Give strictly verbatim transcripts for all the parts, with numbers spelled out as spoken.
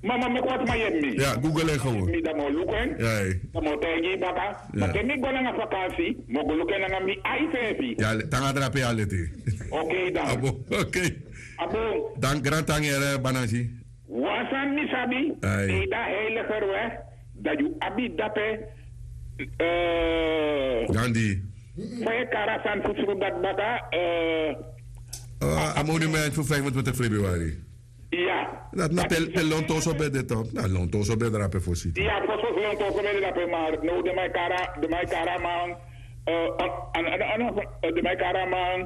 Mama, meki wan sma yepi mi. Ya, google en gewoon. Mi dan mi o luku en. Dan mi o taigi yu baka. Ma te mi go nanga vakansi, mi o go luku en nanga mi ai seefi. Ya, te nanga drape ya leti. Okei dan. Abo, okei. Abo. Dan grantangi ere banansi. Wan sani mi sabi, te yu de na heiliger we, dan yu abi dape. Gandi. Fa yu e kari a sani fu sru dati baka? A monument fu vijfentwintig februari. Ya. Dati na pe lontoso ben de, tok, na lontoso ben drape fosi. Ya, fosi fosi lontoso ben de drape, ma now den man e kari a man. Den man e kari a man.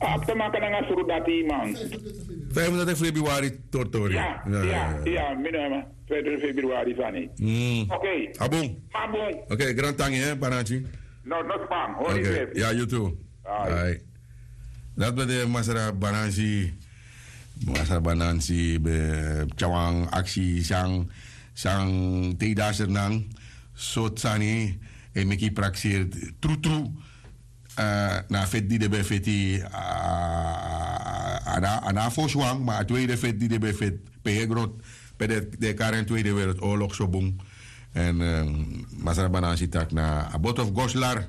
A abi te maka nanga sru dati, man. Vijfentwintig februari tortori. Ya, ya, ya, mi no man. Vijfentwintig februari sani. Okei. A bun. A bun. Okei, grantangi, hè, Banansi. No, no span. Hori. Ya, yu tu. Ai. Dati ben de masra Banansi. Masra Banansi ben tyari wan aksi san, san te yu de na Sranan, sortu sani e meki yu prakseri trutru. Na a feti di den ben feti, a no a fosi wan, ma a tweede feti di den ben feti pe yu e gron, pe den e kari en Tweede Wereldoorlog so bun. Èn masra Banansi taki na a boto fu Goslar.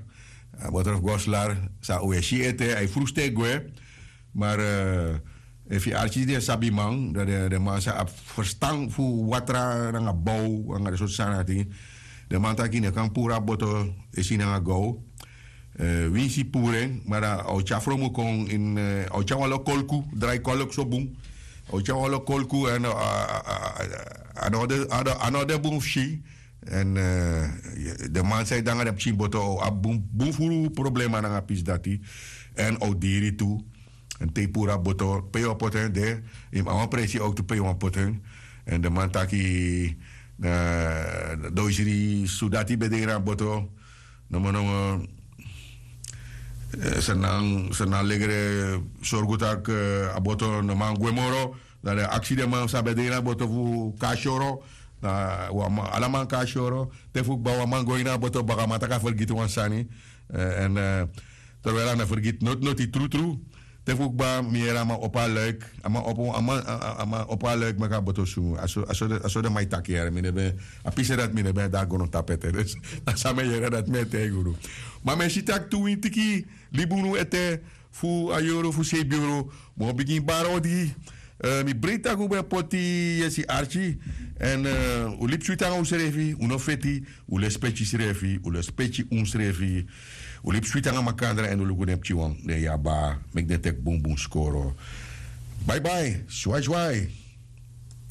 A boto fu Goslar san un e si ete, a e frusu te gwe. Ma efu yu arki den sabiman, dan den man sa abi ferstan fu watra nanga bow nanga den sortu sani dati. Den man taki yu no kan puru a boto e si nanga gow. Winsi puru en, ma dan a o tyari fromu kon ini, a o tyari wan lo kolku, drai kolku so bun. A o tyari wan lo kolku èn a no de bun fu si. Èn den man san e de nanga den pikin boto o abi bun furu problema nanga a pisi dati. Èn a o diri tu. Èn te yu puru a boto pe yu o poti en de, yu mus abi wan presi owtu pe yu wani poti en. Èn den man taki, doisri sudati ben de ini a boto. Nomo nomo Sranan legre sorgu tak' a boto no man gwe moro. Dan den aksi den man san ben de ini a boto fu kon na syoro. Ala man kon na syoro. Te fu kba wan man go ini a boto baka, a man taki a fergiti wan sani. Èn terwijl a no fergiti noti noti trutru. Te fu kba mi yere a man opo a luik. A man opo a man opo a luik meki a boto sungu. A so den man e taki yere, mi no ben, a pisi dati mi no ben de na grontapu ete. Dus na san mi e yere dati mi e taigi unu. Ma mi e si tak' tu wintiki libi unu ete fu a yuru fu sei yuru. Mi o bigin bari odi. Mi breiti tak' un ben poti yesi arki. Èn un libi switi nanga unsrefi, un no feti. Un lespeki srefi, un lespeki unsrefi. Un libi switi nanga makandra èn un luku den pikinwan, den yaba, meki den teki bunbun skoro. Bai bai, swai swai.